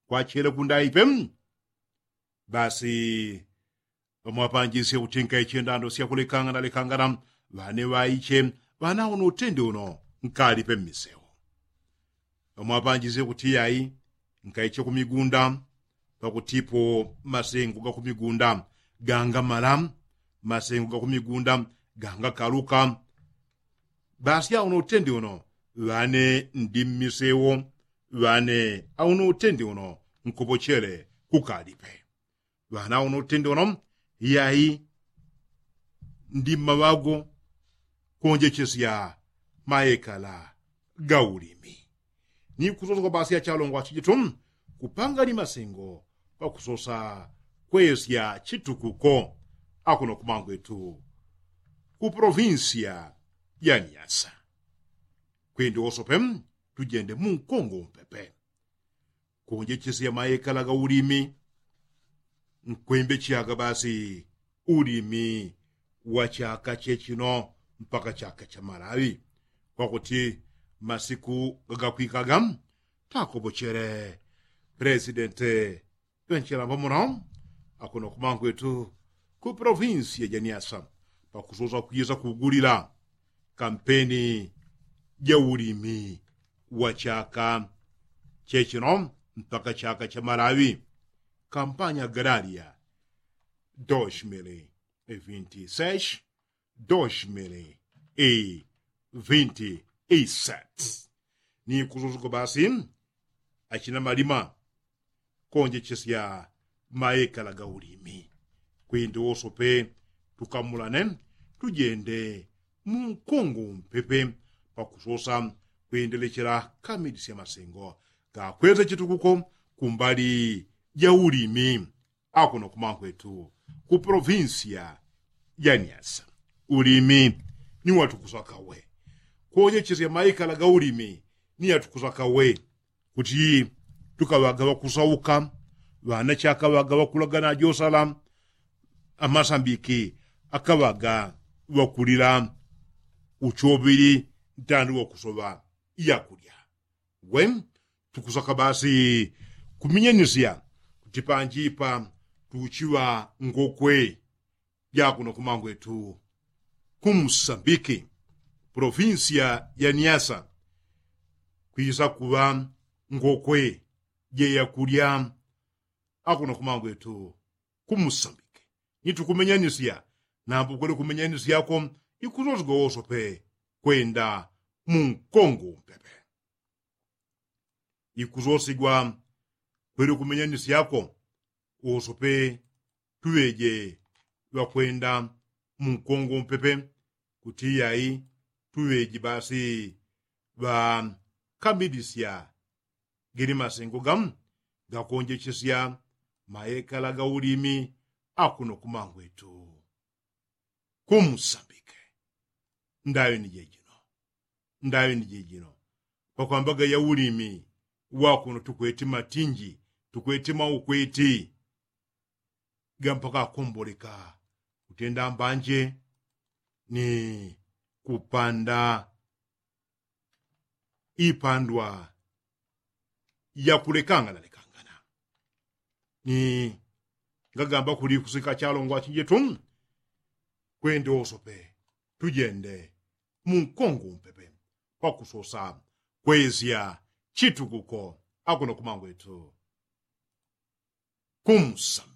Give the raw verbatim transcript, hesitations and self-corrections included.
kwachele kundaipe. Basi ŵamwapanjisye kuti nkaiche ndando syakulekangana lekangana. Ŵane ŵaiche ŵana uno utende uno nkalipe mmiseu. Ŵamwapanjisye kuti yai nkaiche kumigunda. Pakutipo masengo gakumigunda gangamala, masengo gakumigunda gangakaluka. Basi auno utende uno ŵane ndi mmiseu. Ŵane auno utende uno nkopochele kukalipe. Ŵana uno utende uno yai ndi mmaŵago konjechesya maekala ga ulimi. Ni kusosa kwa basi ya chalongo achijitu kupanga ni masengo pakusosa kwesya chitukuko akuno kumangwetu ku provinsia ya nyasa. Kwindi wosope tujende munkongo umpepe konjechesya maekala ga ulimi. Nkwembecheaga basi ulimi wa chaka chechino mpaka chaka cha malawi kwakuti masiku gagakwikaga takopochele presidente ŵenchela ŵamono akuno kumangwetu ku provinsia ja nyasa pakusosa kwisa kugulila kampeni ja ulimi wa chaka chechino mpaka chaka cha malawi. Kampanya galaria dos mili vinti seis dos mili vinti seti. Ni kusosa kwa basi achina malima konjechesya maekala ga ulimi. Kwindi wosope tukamulane tujende munkongo umpepe pakusosa kwendelechela kamilisya masengo gakwesa chitukuko kumbali ja ulimi akuno kumangwetu ku provinsia ja nyasa. Ulimi ni watukusaka we konjechesya maekala ga ulimi ni yatukusaka we kuti tukaŵaga ŵakusauka ŵana chakaŵaga ŵakulagana josala amasambiki akaŵaga ŵakulila uchoŵili ntandi wakusoŵa yakulya. We tukusaka basi kuminyanisya kuti panjipa tuchiŵa ngokwe jakuno kumangwetu ku musambiki provinsia ya nyasa kwisa kuŵa ngokwe jeyakulya akuno kumangwetu ku musambiki. Ni tukumenyanisya nambo kwele kumenyanisyako ikusosigwa wosope kwenda munkongo umpepe. Ikusosigwa kwele kumenyanisyako wosope tuŵeje ŵakwenda munkongo umpepe kuti yai tuŵeji basi ŵakamilisya gili masengo gamu gakonjechesya maekala ga ulimi akuno kumangwetu ku musambike. Ndaŵe ni jejino ndaŵe ni jejino pakwambaga ya ulimi wakuno tukweti matinji tukweti maukweti gampaka akomboleka kutenda mbanje ni kupanda ipandwa yakulekangana lekangana. Ni ngagamba kuli kusika chalongwa chinjetu kwende wosope tujende munkongo umpepe pakusosa kwesya chitukuko akuno kumangwetu ku musambike.